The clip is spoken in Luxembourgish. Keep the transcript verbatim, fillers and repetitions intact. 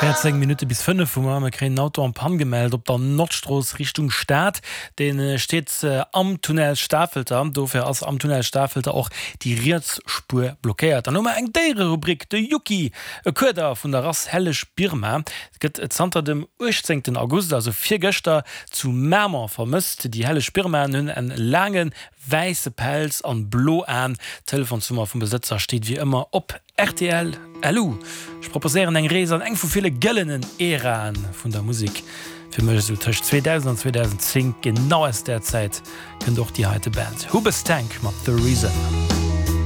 Véierzéng Minutte bis fënnef hu mer. Mir kréien en Auto en panne gemellt op der Nordstrooss Richtung Stad. Dee steet am Tunnel Stafelter. Dofir ass am Tunnel Stafelter och déi riets Spuer blockéiert. Dann hu mer eng Déiererubrik, De Yuki, e Kueder vun der Rass Helleg Birma, gëtt zanter dem uechtzéngten August, also virgëschter, zu Mamer vermësst. Déi Helleg Birmaen hunn en laange wäisse Pelz an blo Aen. D'Telefonsnummer vum Besëtzer steet wéi ëmmer op rtl. Lu. Ech proposéieren eng Rees an eng vu ville gëllenen Äraen vun der Musek, fir mech esou tëscht zweedausend an zweedausendzéng. Genau aus där Zäit kënnt och déi heite Band, Hoobastank mat The Reason.